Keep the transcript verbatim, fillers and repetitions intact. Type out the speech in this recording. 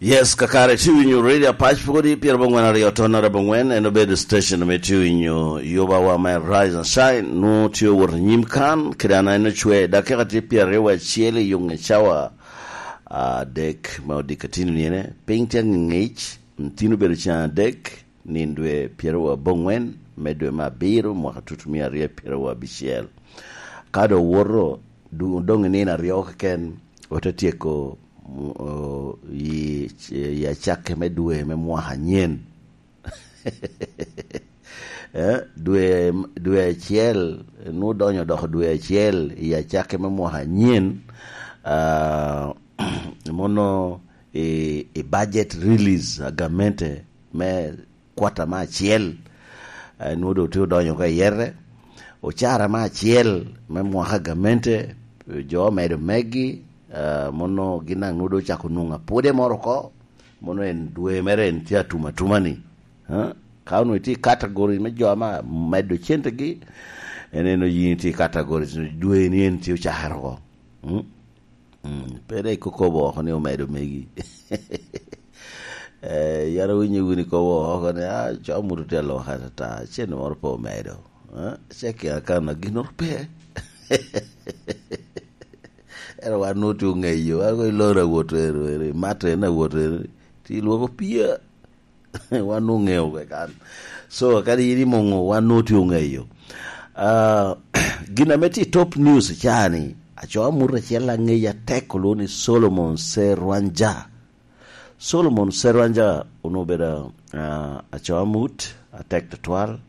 Yes, kakare tye winyo Radio Apac pwodi pyerabongwen aryo ton arabongwen, en obedo station ame tye winyo yubawa me Rise and Shine, nu tye wot anyim kan, kede an en ocwe, dakika tye pyeraryo wa acel i yunge cawa adek me odika tino niene, piny tye ang'eng'ic, ntino obedo can adek, nin dwe pyeraryo abongwen me dwe me abiro, mwaka tutu mia aryo pyeraryo abicel. Ka do woto, du-, dong i nino aryo keken, ote tyeko, mm, o-, i, i acakke me dwe me mwaka anyen. Eh, dwe, dwe acel, nu donyo doko dwe acel i acakke me mwaka anyen, ah, mono i, i budget release a gamente me kwata me acel, eh, nwodo tye odonyo oko i yere. Ocara me acel me mwaka gamente, jo omedo megi, eh, mono gin daŋ nwodo ocako nwoŋo apode moro oko, mono en dwe mere en tye atuma atuma ni. Eh, ka onwoŋo itye i category me jo ame medo centegi, en en oyin itye i category dwe ni en tye ocakere oko. Mm? Mm, pe dek ikokobo oko ni omedo megi. Eh, yara winyo wuni kobo oko ni, "Ah, co muto tye aloko atata, cen moro pe omedo." Eh, ce kia kan na gin pe." Ero wan nu tye ongeyo, wan ko iloro awot ero, ero, imato en awot ero, ti lwoko pia. Wan nu ngeo kwe kan. So, kadi yin imoŋo, wan nu tye ongeyo. Ah, gin ame tye i top news cani, acoa mut acel aŋeya tek olwo ni Solomon Serwanja. Solomon Serwanja onwoŋo obedo, ah, acoa mut atek tutwal.